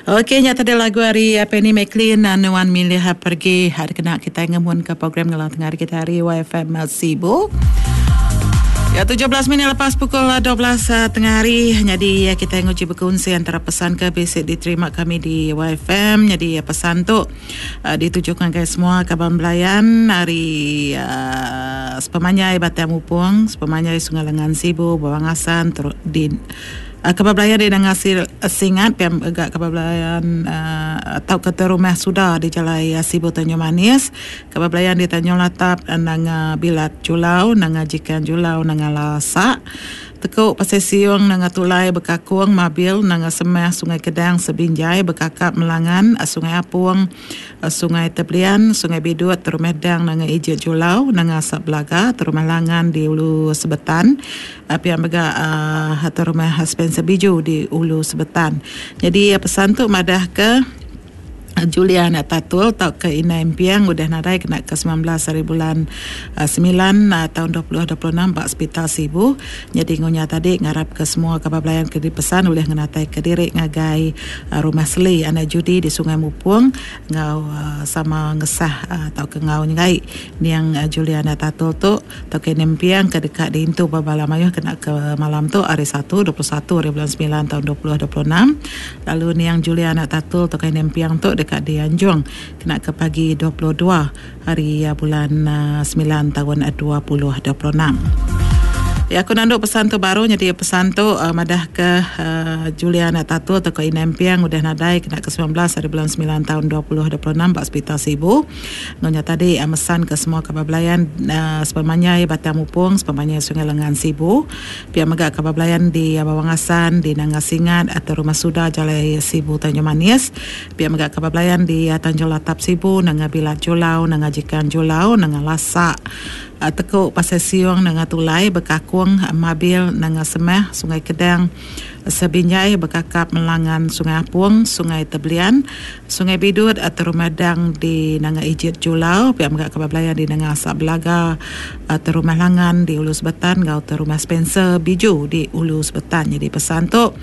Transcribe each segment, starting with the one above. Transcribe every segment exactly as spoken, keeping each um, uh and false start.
Okey, nya tadi lagu hari Penny McLean Nuan Milih Pergi hari kena kita ngemun ke program ngelang tengah hari kita hari Y F M Sibu. Ya, tujuh belas minit lepas pukul dua belas tengah hari. Jadi kita nguji berkongsi antara pesan ke basic diterima kami di Y F M. Jadi pesan tu uh, ditujukan ke semua kaban belayan hari uh, sepemanjai Batang Mupung, sepemanjai Sungai Lengan Sibu, Bawang Asan, ter- di Uh, kabar belayan di Nanga Singat, piam agak kabar belayan uh, atau ke rumah sudah di Jalai Sibu Tanjung Manis. Kabar belayan di Tanjung Latap, Nanga Bilat Julau, Nanga Jikan Julau, Nanga Lasak. Tekuk Pasir Siung, Nanga Tulai, Bekakung, Mabil, Nanga Semah, Sungai Kedang, Sebinjai, Bekakap, Melangan, Sungai Apung, Sungai Teblian, Sungai Bidut, Terumah Dang, Nanga Ijit Julau, Nanga Asap Belaga, Terumah Langan di Ulu Sebetan, pihak mega uh, Terumah Spencer Biju di Ulu Sebetan. Jadi pesan tu madah ke Julia anak Tatul atau ke Ina Impiang udah nadai kena ke sembilan belas hari bulan uh, sembilan uh, tahun dua ribu dua puluh enam bak Hospital Sibu. Jadi ngonya tadi ngarap ke semua kabar belayan ke dipesan oleh ngenatai ke diri ngagai uh, rumah Seli anak Judi di Sungai Mupung ngau uh, sama ngesah uh, atau ke ngau ngai niang uh, Julia anak Tatul tu atau ke Ina Impiang ke dekat di Intu Babala Mayuh kena ke malam tu hari Satu dua puluh satu hari bulan sembilan tahun dua ribu dua puluh enam. Lalu niang Julia anak Tatul atau ke Ina Impiang tu dekat di Anjung kena ke pagi dua puluh dua hari bulan sembilan tahun dua ribu dua puluh enam. Ya, aku nanduk pesan tu baru jadi pesan tu uh, madah ke uh, Julia anak Tatul atau ke Ina Impiang udah nadai kena ke sembilan belas hari bulan sembilan tahun dua ribu dua puluh enam bak Hospital Sibu. Ngonya tadi uh, mesan ke semua kabar belayan uh, sepemanjai Batang Mupung, sepemanjai Sungai Lengan Sibu. Pihak mega kabar belayan di uh, Bawang Asan, di Nanga Singat atau Rumah Suda Jalai Sibu Tanjung Manis. Pihak mega kabar belayan di uh, Tanjung Latap Sibu, Nanga Bilat Julau, Nanga Jikan Julau, Nanga Lasak. Tekuk Pasir Siung, Nanga Tulai, Bekakung, Mabil, Nanga Semah, Sungai Kedang, Sebinjai, Bekakap, Melangan, Sungai Apung, Sungai Teblian, Sungai Bidut, atau Rumah Dang di Nanga Ijit Julau, pihak megak kabar belayan di Nanga Asap Belaga, atau Rumah Langan di Ulu Sebetan, gau atau Rumah Spencer Biju di Ulu Sebetan. Jadi pesan tu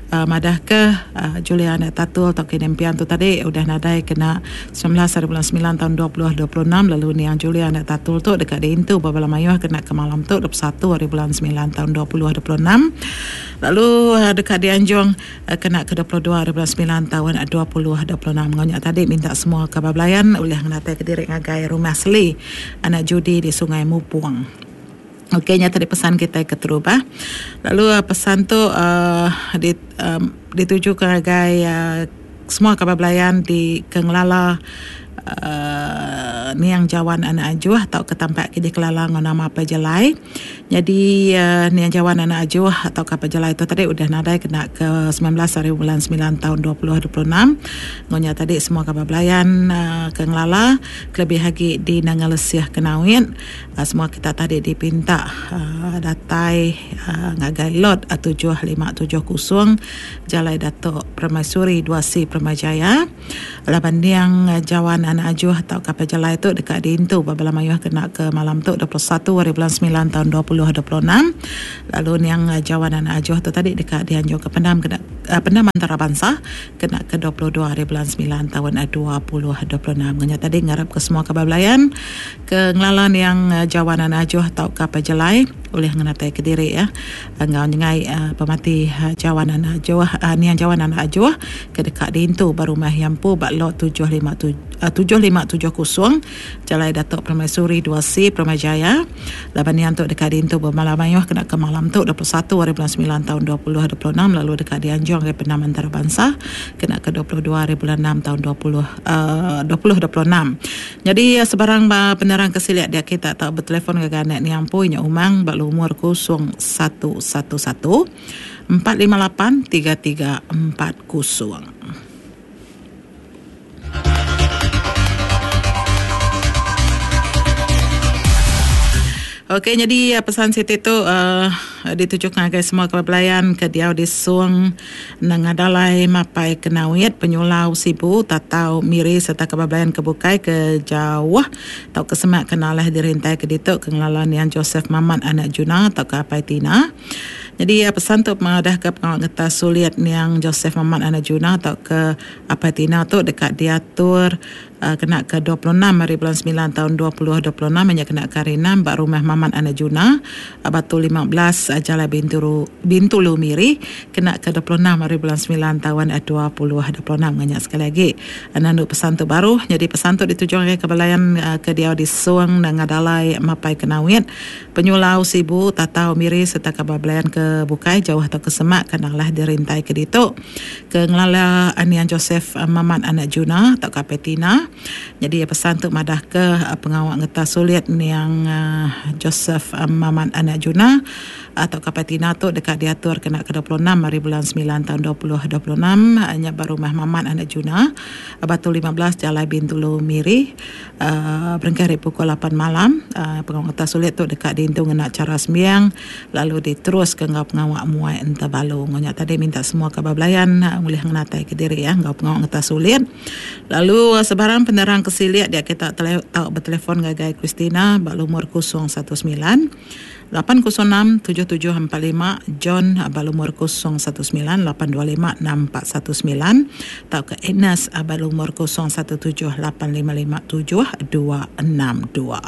Uh, madah ke uh, Julia anak Tatul atau Kenempian tu tadi udah nadai kena sembilan belas hari bulan sembilan tahun dua ribu dua puluh enam. Lalu ni yang Julia anak Tatul tu dekat di Intu Babala Mayuh kena ke malam tu dua puluh satu hari bulan sembilan tahun dua ribu dua puluh enam. Lalu uh, dekat di Anjung uh, kena ke dua puluh dua hari bulan sembilan tahun dua ribu dua puluh enam. Ngonyak tadi minta semua kabar belayan oleh ngenatai ke diri ngagai Rumah Seli anak Judi di Sungai Mupung. Okey, nyata di pesan kita ke terubah. Lalu uh, pesan tu uh, di, um, dituju ke ngagai uh, semua kabar belayan di Kengelala uh, Niang Jawan Anak Ajuh atau ke tampak ke di Kelala ngau nama apa jelai. Jadi uh, Niang Jawan Anak Ajuh atau ke apa jelai itu tadi udah nadai kena ke sembilan belas hari bulan sembilan tahun dua ribu dua puluh enam. Ngonya tadi semua kabar belayan uh, ke Ngelala kelebih lagi di Nangalesiah Kenawin. Uh, semua kita tadi dipinta uh, datai uh, ngagai lot tujuh lima tujuh kosong Jalai Datuk Permaisuri dua C Permajaya. Laban Niang Jawan Anak Ajuh atau kapal jelai tu dekat di Intu Babala Mayuh kena ke malam tu dua puluh satu hari bulan sembilan tahun dua ribu dua puluh enam. Lalu Niang Jawan Anak Ajuh tu tadi dekat di Anjung ke Pendam kena uh, Pendam Antarabangsa kena ke dua puluh dua hari bulan sembilan tahun dua ribu dua puluh enam. Ngenya tadi ngarap ke semua kabar belayan ke ngelalan yang Jawan Anak Ajuh atau kapal jelai oleh ngenatai ke diri ya. Ngau nyengai uh, pemati uh, Jawan Anak Ajuh uh, Niang Jawan Anak Ajuh ke dekat di Intu Barumah Yampu bak lot tujuh lima tujuh kosong Jalai Datuk Permaisuri dua C Permajaya. Laban niang tu dekat di Intu bermalam mayuh kena ke malam tu dua puluh satu hari bulan sembilan tahun dua ribu dua puluh enam. Lalu dekat di Anjung ke Penam Antarabangsa kena ke dua puluh dua hari bulan enam tahun dua ribu dua puluh enam. Jadi sebarang penerang kesiliak dia kita tak bertelefon ke anak niang punya umang bak lumur kosong satu satu satu empat lima lapan tiga tiga empat kosong. Okey, jadi pesan Siti tu uh, ditujukan kepada semua kepelayan ke diau di Suang Nangadalai Mapai Kenawit Penyulau Sibu Tatau Miri serta kepelayan ke Bukai ke Jauh atau ke Semak Kenalah dirintai ke Dituk ke Ngelalan Yang Joseph Mamat anak Juna atau ke Apai Tina. Jadi ya, pesan tu mengadah ke pengawal ngetas sulit yang Joseph Mamat Anak Juna atau ke Apai Tina tu dekat diatur uh, kena ke dua puluh enam hari bulan sembilan tahun dua ribu dua puluh enam hanya kena ke hari enam bak rumah Mamat Anak Juna Batu lima belas Jalan Bintulu, Bintulu Miri kena ke dua puluh enam hari bulan sembilan tahun dua ribu dua puluh enam. Nganyak sekali lagi nandu pesan tu baru. Jadi pesan tu ditujukan ke belayan uh, ke dia di Suang dan Ngadalai Mapai Kenawit Penyulau Sibu Tatau Miri serta kabar belayan ke Bukai jauh atau ke Semak kadanglah dirintai ke ditu ke ngelala Anian Joseph Mamat Anak Juna atau ke Petina. Jadi pesan tu madah ke pengawak ngetas sulit yang Joseph Mamat Anak Juna atau ke Petina tu dekat diatur kena ke dua puluh enam hari bulan sembilan tahun dua ribu dua puluh enam nya baru rumah Mamat Anak Juna Batu lima belas Jalan Bintulu Miri uh, berengkah dari pukul lapan malam. Uh, pengawak ngetas sulit tu dekat diintung kena cara sembiang lalu diterus ke ngau pengawak muai enta balu. Ngonya tadi minta semua kabar belayan boleh ngenatai ke diri ya ngau pengawak ngetas sulit. Lalu sebarang penerang kesiliak dia kita tele, tau bertelefon gagai Christina bak lumur kosong satu sembilan lapan kosong enam tujuh tujuh empat lima, John bak lumur kosong satu sembilan lapan dua lima enam empat satu sembilan atau ke Agnes bak lumur kosong satu tujuh lapan lima lima tujuh dua enam dua.